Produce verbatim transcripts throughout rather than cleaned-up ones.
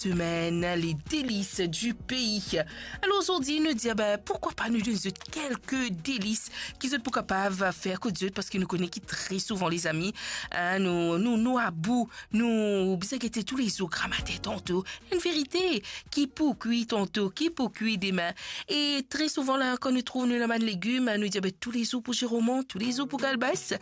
semaine, les délices du pays. Alor, zordi, nou dir, ben, pourquoi pas nou donn zot kelke delis ki zot pou kapav fer kot zot, parski nou kone ki tre souvan, lezami, hein, nou, nou, nou about, nou bizin gete toulezour, gramatin tanto, enn verite, ki pou kwi tanto, ki pou kwi demin. E tre souvan la, kan nou trouv nou ena bann legim, nou dir, ben, toulezour pou ziromon, toulezour pou kalbas,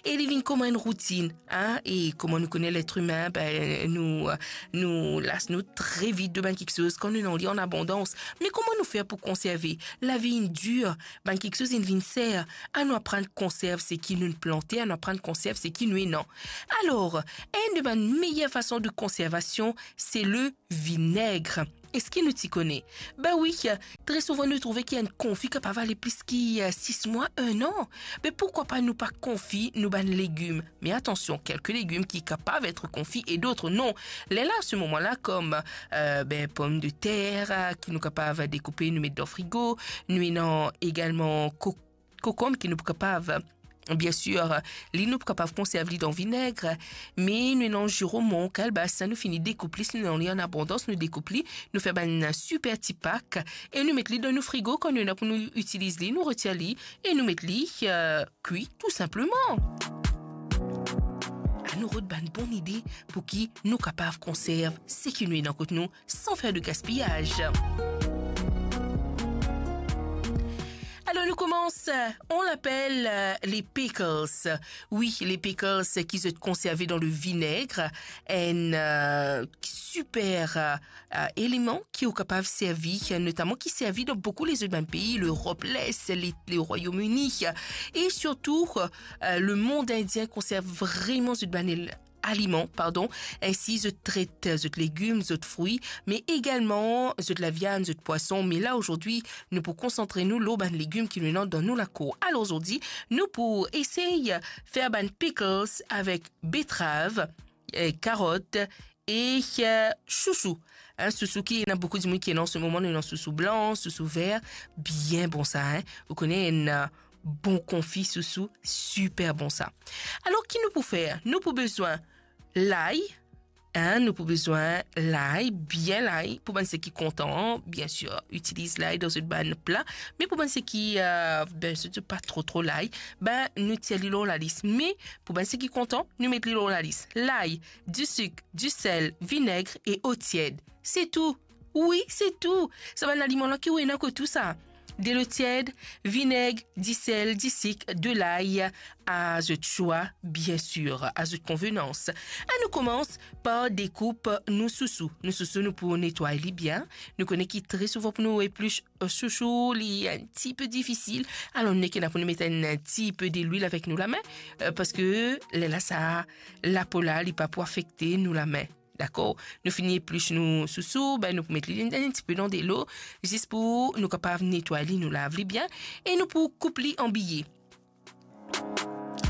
e li vinn kouma enn routinn, hein. E kouma nou kone letr imin, ben, nou, nou las nou tre vit de bann kiksoz kan nou ena li an abondans. Me kouma nou fer pou konserve? Lavi inn dir, bann kiksoz inn vinn ser. Anou aprann konserv seki nou plante, anou aprann konserv seki nou ena. Alor, enn de bann meyer fason de konservasion, se le vineg. Eski nou ti kone? Ben wi, tre souvan nou trouve ki enn konfi kapav ale plis ki, eh, sis mwa, enn an. Me pourquoi pas nou pa konfi nou bann legim? Me atansion, kelke legim ki kapav et konfi e dot non. Lerla, se moman la, kom, eh, ben, pomdeter, eh, ki nou kapav dekoupe, nou met dan frigo, nou ena egalman ko-, kokonm ki nou pou kapav, bien sir, li nou pou kapav konserv li dan vineg, me nou ena ziromon, kalbas, sa nou fini dekoup li, si nou ena li an abondans, nou dekoup li, nou fer bann siper ti pak, e nou met li dan nou frigo, kan nou ena pou nou itiliz li, nou retir li, e nou met li, eh, kwi, tou sinpleman. Anou rod bann bon ide pou ki nou kapav konserv seki nou ena kot nou, san fer de gaspiyaz. Alor, nou koumans, on apel, eh, les pickles. Wi, les pickles ki zot konserve dan le vineg, enn, eh, siper, eh, eh, eleman ki ou kapav servi, notaman ki servi dan boukou lezot bann pei, Lerop Les, le, le Royaume-Uni, e sirtou, eh, lemond indien konserv vreman zot bann el-, aliman, pardon, ensi zot tret zot legim, zot frwi, me egalman zot laviann, zot pwason. Me la, zordi, nou pou konsantre nou lor bann legim ki nou ena dan nou lakour. Alor, zordi, nou pou esey fer bann pickles avek betrav, eh, karot e, eh, sousou. Hein, sousou ki ena boukou dimoun ki ena an se moman, nou ena sousou blan, sousou ver, bien bon sa, hein. Ou kone enn, eh, bon konfi sousou, siper bon sa. Alor, ki nou pou fer? Nou pou bezwin lay, hein, nou pou bezwin lay, bien lay, pou bann seki kontan, bien sir, itiliz lay dan zot bann pla, me pou bann seki, eh, ben, zot pa tro, tro lay, ben, nou tir li lor lalis. Me pou bann seki kontan, nou met li lor lalis. Lay, disik, disel, vineg e otied. Se tou. Wi, se tou. Sa bann aliman la ki ou ena kot ou sa. Delo tied, vineg, disel, disik, delay, a zot swa, bien sir, a zot konvenans. Anou koumans par dekoup nou sousou. Nou sousou, nou pou netway li bien. Nou kone ki tre souvan pou nou eplis, eh, sousou, li enn tipe difisil. Alor, nou nek ena pou nou met enn tipe delwil avek nou lame, eh, parski lerla sa, lapo la, li pa pou afekte nou lame. Dakor? Nou fini eplis nou sousou, ben, nou pou met li enn, enn tipe dan delo, zis pou nou kapav netway li, nou lav li bien, e nou pou koup li an biye.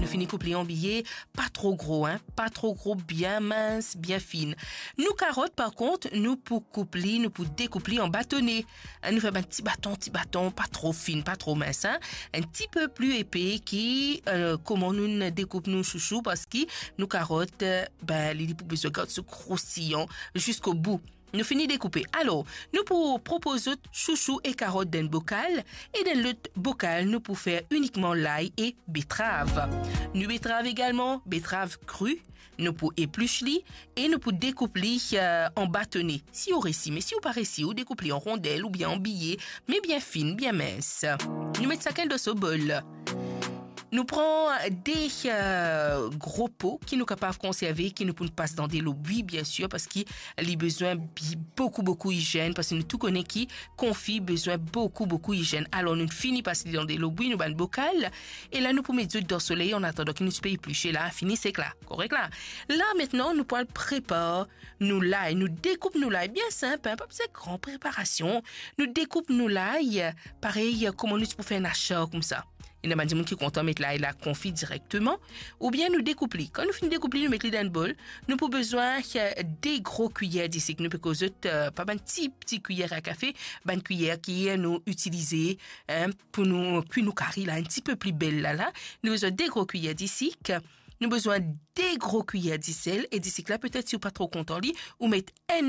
Nou fini koup li an biye, pa tro gro, hein, pa tro gro, bien mins, bien fin. Nou karot, par kont, nou pou koup li, nou pou dekoup li an batone. Hein, nou fer bann ti baton, ti baton, pa tro fin, pa tro mins, hein. Enn tipe pli epe ki, eh, kouma nou dekoup nou sousou, parski nou karot, eh, ben, li, li pou bezwin gard so krosiyan ziska bou. Nou fini dekoupe. Alor, nou pou propoz zot sousou e karot dan enn bokal, e dan lot bokal, nou pou fer inikman lay e betrav. Nou betrav egalman, betrav kri, nou pou eplis li e nou pou dekoup li, eh, an batone, si ou resi. Me si ou pa resi, ou dekoup li an rondel oubien an biye, me bien fin, bien mins. Nou met sakenn dan so bol. Nou pran de, eh, gro po ki nou kapav konserve, ki nou pou pas dan delo bwi, bien sir, parski li bezwin bi-, boukou, boukou izenn, parski nou tou kone ki konfi bezwin boukou, boukou izenn. Alor, nou fini pas li dan delo bwi, nou bann bokal, e la, nou pou met zot dan soley, an atandan ki nou ti pe eplis la, fini sek la, korek la. La, aster, nou pou al prepar nou lay, nou dekoup nou lay, bien sinp, hein, pa bizin gran preparasion. Nou dekoup nou lay, parey kouma nou ti pou fer enn asar koumsa. Ena bann dimoun ki kontan met lay la konfi direkteman, oubien nou dekoup li. Kan nou fini dekoup li, nou met li dan enn bol. Nou pou bezwin, eh, de gro kwiyer disik. Nou pe koz zot, eh, pa bann ti, ti kwiyer a kafe, bann kwiyer ki, eh, nou itilize, hein, pou nou kwi nou kari la, enn tipe pli bel la, la. Nou bezwin de gro kwiyer disik. Nou bezwin de gro kwiyer disel, e disik la, petet si ou pa tro kontan li, ou met enn